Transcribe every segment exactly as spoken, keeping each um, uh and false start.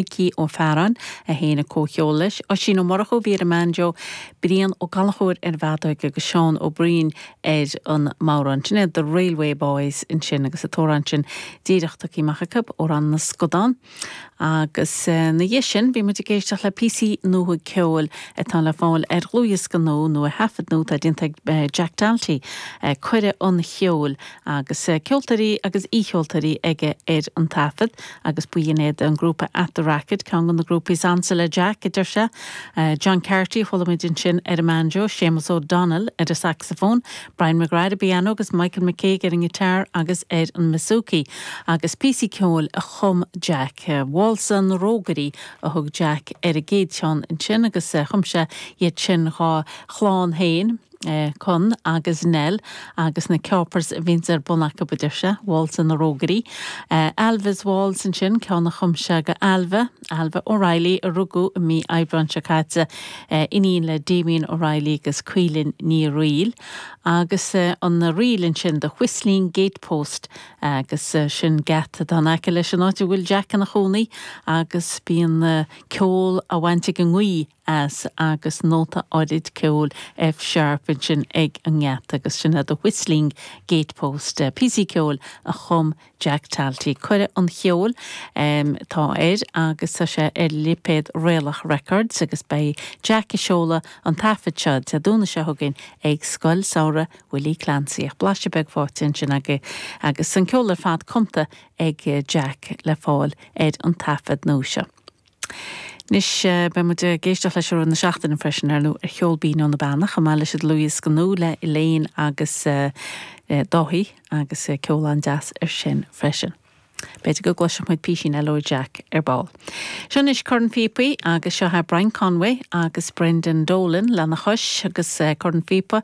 Micí Ó Fearáin a sheinn an comhcheol leis, Oisín Ó Murchú a bhí ar an mbanjo, Brian Ó Gallchóir ar an bhfeadóig agus Seán Ó Briain ar an mbodhrán. Sin é The Railway Boys ansin agus an t-amhrán sin díreach tugtha amach acu ó Rann na Scadán. Agus ina dhiaidh sin bhí muid ag éisteacht le píosaí nua ceoil atá le fáil ar dhlúthdhiosca nua nó ar thaifead nua atá déanta ag Jack Talty, Cuireadh an Cheoil agus ceoltóirí agus aoicheoltóirí aige ar an taifead agus b'in iad an grúpa At the Racket, ceann de na grúpaí is ansa le Jack, a deir sé. John Carty a chuala muid ansin ar an mbanjo, Séamus O'Donnell ar an saxophone, Brian McGrath ar an bpianó agus Michael McCaig ar an ngiotár agus ar an mbouzouki. Agus píosaí ceoil a chum Jack. Válsa na Rógairí a thug Jack ar an gcéad cheann ansin agus chum sé iad sin dá chlann féin. Con agus Nell agus na ceapers a bhíonns ar bun acu a deir sé, Válsa na Rógairí. Alva's Waltz ansin ceann a chum sé do Alva, Alva O'Reilly a rugadh i mí Aibreáin seo caite iníon le Damien O'Reilly agus Caoilinn Ní Fhrighil. Agus an ríl ansin The Whistling Gatepost agus sin geata atá in aice leis an áit a bhfuil Jack ina chónaí agus bíonn ceol á bhaint ag an ngaoth as agus nóta áirid ceoil F sharp ansin ag an ngeata agus sin é The Whistling Gatepost píosaí ceoil a chum Jack Talty. Cuireadh an Cheoil atá air agus tá sé ar lipéad Réalach Records agus beidh Jack ag seoladh an taifead seo Dé Domhnaigh seo chugainn ag Scoil Samhraidh Willie Clancy. Ach blaiseadh beag faighte ansin agaibh agus an ceol ar fad cumtha ag Jack le fáil ar an taifead nua seo. Anois beidh muid ag éisteacht leis i rith na seachtaine freisin ar nó ar Cheol Binn ó na Beanna chomh maith leis an dlúthdhiosca nua le Elaine agus Dáithí agus ceol an-deas ar sin freisin. B'fhéidir go gcloisfidh muid písín eile ó Jack ar ball. Seo anois Corn Phíopaí agus seo é Brian Conway agus Brendan Dolan lena chois agus Corn Phíopa.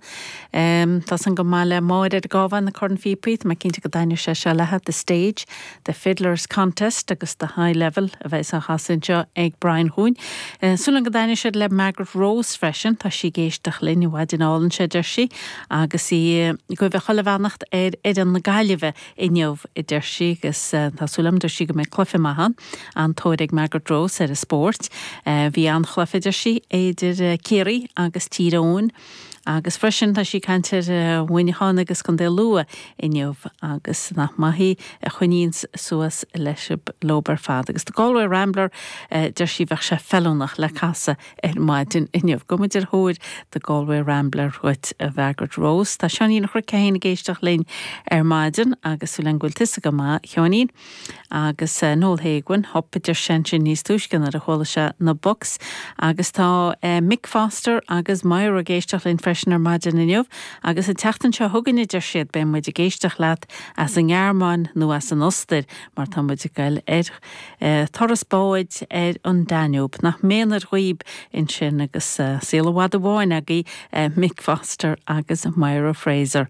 Um, tá san go maith le Máire ar gábha na Corn Phíopaí, Tá mé cinnte go dtaitneoidh sé seo léithi The Stage, The Fiddlers Contest agus The High Level a bheidh á chasadh anseo ag Brian chugainn. Uh, Súil go dtaitneoidh siad le Margaret Rose freisin, tá sí ag éisteacht linn an mhaidin álainn seo deir sí agus í ag gabháil chuile bheannacht ar fhoireann na Gaillimhe inniu a deir sí agus tá súil agam deir sí go mbeidh cluiche maith ann an-tóir ag Margaret Rose ar an spórt. Bhí an-chluiche deir sí idir Ciarraí agus Tír Eoghain. Agus freisin tá sí ag caint ar Mhuineachán agus Contae Lú inniu agus nach maith í a choinníonn suas leis leo ar fad. Agus The Galway Rambler deir sí bheadh sé feiliúnach le casadh ar maidin inniu. Gabhfaidh muid ar thóir The Galway Rambler dhuit a Margaret Rose. Tá Seáinín Chruic féin ag éisteacht linn ar maidin agus súil agam go bhfuil tusa go maith Sheáinín. Agus Noel Haguin hop deir sé sin níos túisce nuair a chuala sé na Bucks agus tá Mick Foster agus Myra ag éisteacht linn freisin ar maidin inniu agus an tseachtain seo chugainn deir siad beidh muid ag éisteacht leat as an nGearmáin nó as an Ostair mar tá muid ag dul ar turas báid ar an Danube nach méanar dhaoib ansin agus saol i bhfad amháin agaibh Mick Foster agus Myra Fraser.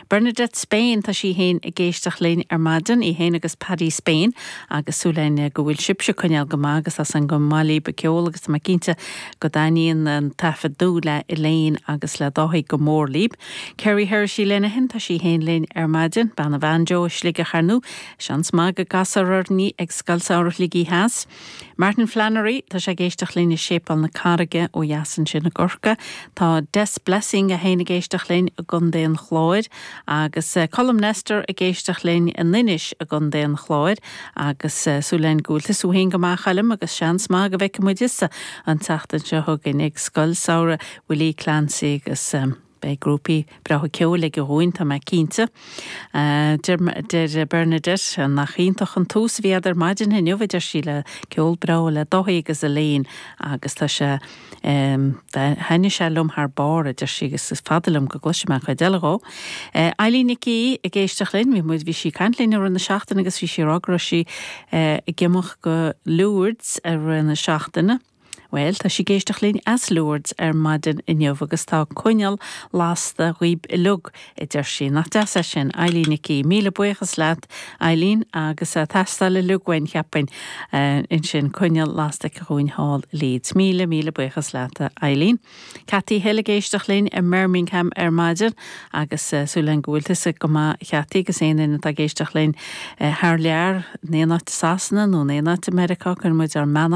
Bernadette Spain tá sí féin ag éisteacht linn ar maidin í féin agus Paddy Spain agus súil againn go bhfuil sibhse ag coinneáil go maith agus as an go maith libh an ceol agus tá mé cinnte go dtaitníonn an taifead nua le Elaine agus le Dáithí go mór libh. Kerry Hershey Lenihan tá sí féin linn ar maidin, bean an bhanjo Sligeach ar ndóigh, seans maith go gcasfar orainn ag Scoil Samhraidh Shligigh Theas. Martin Flannery tá sé ag éisteacht linn i Séipéal na Carraige ó dheas ansin i gCorcaigh. Tá Des Blessing é féin ag éisteacht linn i gContae an Chláir agus Colm Nestor ag éisteacht linn in Inis i gContae an Chláir agus súil againn go bhfuil tusa féin go maith Choilm agus seans maith go bhfeicfidh muid tusa an tseachtain seo chugainn ag Scoil Samhraidh Willie Clancy agus um, beidh grúpaí breátha ceoil aige dhúinn tá mé cinnte. Deir Bernadette nach iontach an tús a bhí ar maidin inniu deir sí le ceol breá le Dáithí agus Elaine agus tá sé thaitnigh sé liom thar barr a deir sí agus is fada liom go gcloisfidh mé chuid eile dhó. Eileen Nic Aoidh ag éisteacht linn, bhí muid bhí sí ag caint linn ar na seachtain agus bhí sí rá go raibh sí ag imeacht go Lourdes ar na seachtaine. Well tá sí ag éisteacht linn as Lourdes ar maidin inniu agus tá coinneal lasta dhaoib uilig a deir sí nach deas é sin Eileen Nicí míle buíochas leat Eileen agus teastáil uilig uainn cheapfainn ansin coinneal lasta chugainn thall Leeds míle míle buíochas leat Eileen. Cathy Hill ag éisteacht linn i mBirmingham ar maidin agus súil agam go bhfuil tusa go maith Cathy agus aon duine atá ag éisteacht linn thar lear in aon áit Sasana nó in aon áit Meiriceá chuir muid ár mbeannacht